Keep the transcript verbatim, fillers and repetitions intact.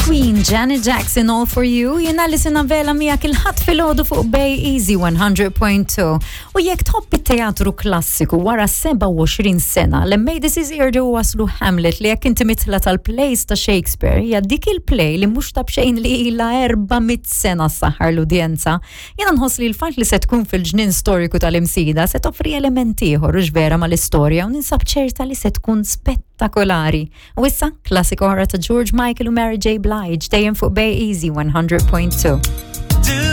Queen Janet Jackson, All For You, jiena Alison Vela miegħek il-Ħadd filgħodu fuq Bay Easy one hundred point two. U jekk tħobb it-teatru klassiku, wara sebgħa u għoxrin sena, l-M A D C jerġgħu waslu Hamlet, li jekk inti midħla tal-plays ta' Shakespeare, hija dik il-play li mhux ta' bxejn li ilha erba' mitt sena ssaħħar l-udjenza. Jiena nħoss li l-fatt li se tkun fil-ġnien storiku tal-Imsida se toffri elementi ieħor u vera mal-istorja u ninsab ċerta li se tkun spettakolari. U issa, klassika oħra ta' George Michael u Mary J. Blige, dejjem fuq Bay Easy one hundred point two. Do